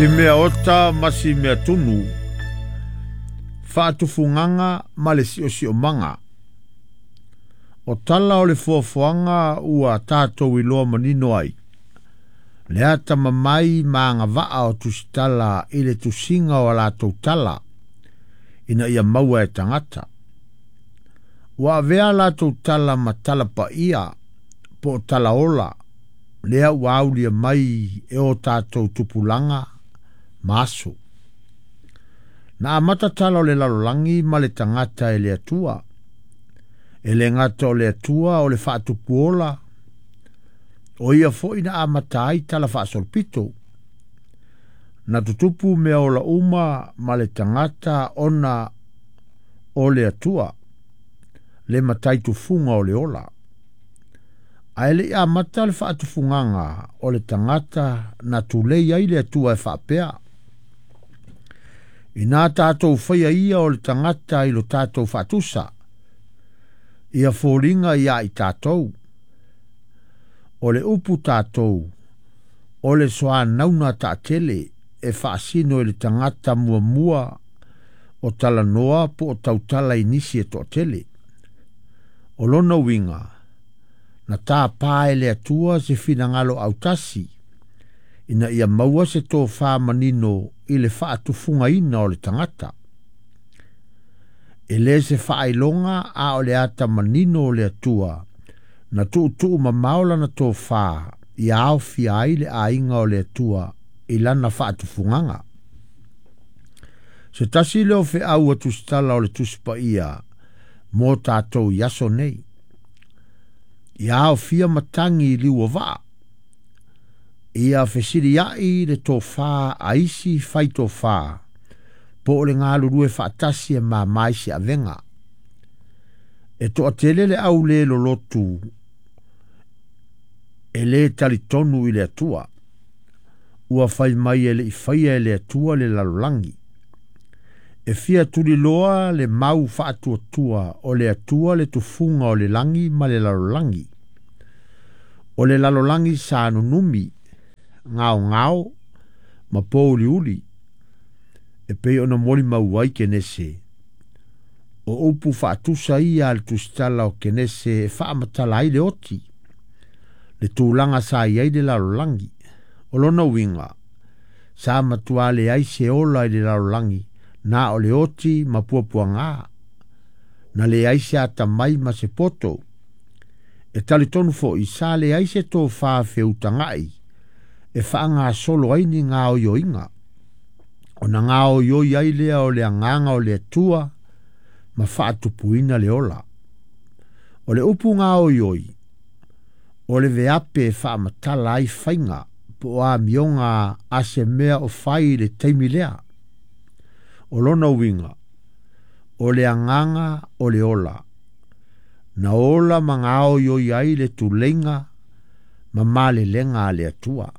Si mea ota ma si mea tunu, faatufugaga ma le siosiomaga. O tala o le fuafuaga ua tatou iloa manino ai, le atamamai ma agavaa o tusitala i le tusiga o a latou tala, ina ia maua e tagata. Ua avea latou tala ma tala paia po o tala ola, lea ua aulia mai e o tatou tupulaga ma aso. Na amata tala o le lalolagi ma le tagata e le Atua. E le gata o le Atua o le faatupuola, o ia foi na amata ai tala faasolopito. Na tutupu mea ola uma ma le tagata ona o le Atua, le matai tufuga o le ola. Ae le i amata le faatufugaga o le tagata na tulei ai le Atua e faapea. Ina tatou faia ia o le tagata i lo tatou faatusa, ia foliga ia i tatou. O le upu tatou, o le soanauna taatele e faasino i le tagata muamua o talanoa po o tautala i nisi e toatele. O lona uiga, na tāpā e le Atua se finagalo autasi, ina ia maua se tofā manino i le faatufugaina o le tagata. E le se faailoga a o le ata manino o le Atua, na tuutuu mamao lana tofā ia aofia ai le aiga o le Atua i lana faatufugaga. Se tasi lea o feau a tusitala o le Tusi Paia mo tatou i aso nei. Ia aofia matagi i liu o vaa. Ia fesiliai le tofā a isi fai tofā, po o le galulue faatasi e māmā i se avega. E toatele le au le lolotu e le talitonu i le Atua. Ua fai mai e le i faia e le Atua le lalolagi. E fia tuliloa le mau faatuatua o le Atua le tufuga o le lagi ma le lalolagi. O le lalolagi sa nunumi, gaogao ma pouliuli, e pei ona molimau ai Kenese. O upu faatusa ia a le tusitala o Kenese e faamatala ai le oti, le tulaga sa i ai le lalolagi. O lona uiga, sa matua leai se ola i le lalolagi, na o le oti ma puapuaga, na leai se atamai ma se poto. E talitonu foi sa leai se tofā feutagai e faagasolo ai ni gaoioiga. Ona gaoioi ai lea o le agaga o le Atua ma faatupuina le ola. O le upu gaoioi, o le veape e faamatala ai faiga po o amioga a se mea o fai i le taimi lea. O lona uiga, o le agaga o le ola. Na ola ma gaoioi ai le tuleiga ma malelega a le Atua.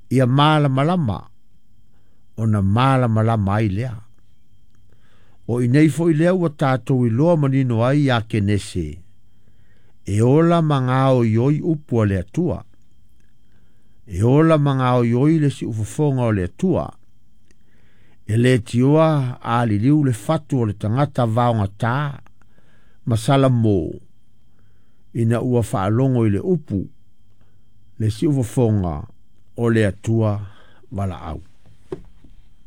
Ia malamalama, ona malamalama ai lea. O i nei foi lea ua tatou iloa manino ai ia Kenese, e ola ma gaoioi upu a le Atua. E ola ma gaoioi le siufofoga o le Atua. E le tioa a liliu le fatu o le tagata vaogatā ma Salamo, ina ua faalogo i le upu, le siufofoga o le Atua valaau.